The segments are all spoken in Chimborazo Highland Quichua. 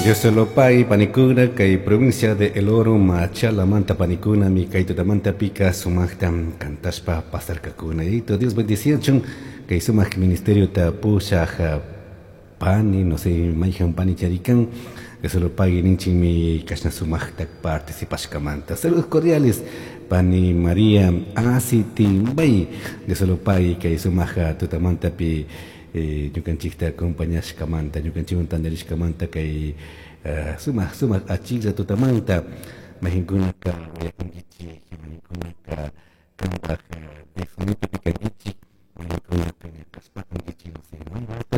Dioselopay panikuna kay provincia de El Oro Machalamanta panikuna mi kay tutamanta pika sumaqta kantashpa pasarkakuna. Yayito Dios bendiciachun kay sumaq ministerio ta pushaq pani, no sé, mayhan pani charikan. Dioselopay ninchikmi kashna sumaqta participashkamanta. Saludos cordiales pani María Asitimbay. Dioselopay kay sumaq tutamantapi ñukanchikta acompañashkamanta, ñukanchikwan tantarishkamanta kay sumaq sumaq achiklla tutamanta mayqinkunaka uyakunkichik, mayqinkunaka kanpaq telefonitopi kankichik, mayqinkunaka ñakashpakankichik, no sé,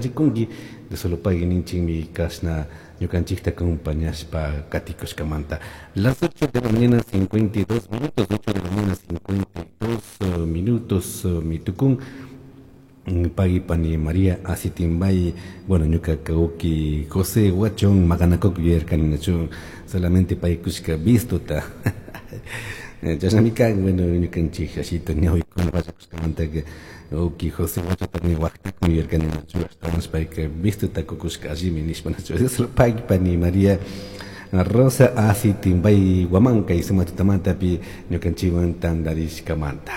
rikunki Dioselopay ninchikmi kashna ñukanchikta acompañashpa katikushkamanta. Las 8 de la mañana 52 minutos, 8 de la mañana 52 minutos mitukun. Pagui pani María Asitimbay, bueno, ñuka kawki José Huachón makanakuk yuyarkani nachu solamente paykushka vistuta. Chashnami kan, bueno, ñukanchik ashita ñawikuna pachakushkamanta wawki José Huachotami waktakmi yuyarkani nachu ashtawanshi payka vistuta kukushka allimi nishpa nachu. Pagui pani María Rosa Asitimbay Guamán kay sumak tutamantapi ñukanchikwan tantarishkamanta.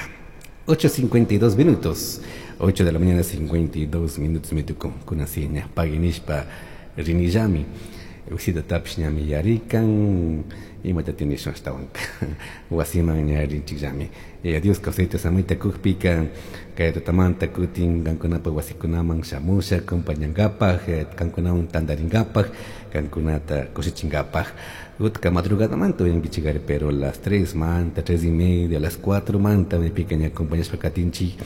8:52 minutos. 8 de la mañana 52 minutos me tocó con así ña paguinishpa rinillami usita tapish ñami yarikan imata tienes ashtawan wasiman ña rinchikllami. Dios kawsayta samayta kukpika kay tutamanta kutin kankunapa wasikunaman shamusha acompañankapaj, kankunawan tantarinkapaj, kankunata kushichinkapaj. Utka madrugada manta uyankichikari, pero las 3 manta, 3 y media, las 4 manta me pica ña acompañashpa katinchik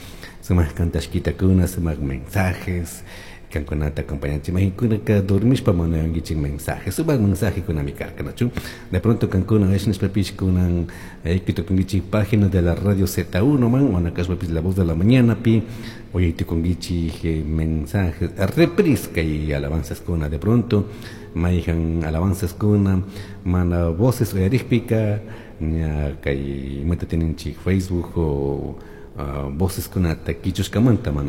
sumak kantashkitakuna, sumak mensajes kankunata acompañanchik. Mayqinkunaka dormishpa mana uyankichik mensajes, sumak mensajekunami karka, nachu. De pronto kankuna nishpapish kunan tukunkichik página de la radio Z1 man, o nakashpapish La Voz de la Mañana pi uyaytukunkichik mensajes, reprise kay alabanzas kuna. De pronto mayhan alabanzas kuna mana voces uyarikpika ña kay imata tininchik Facebook o voces kunata kichushkamanta mana.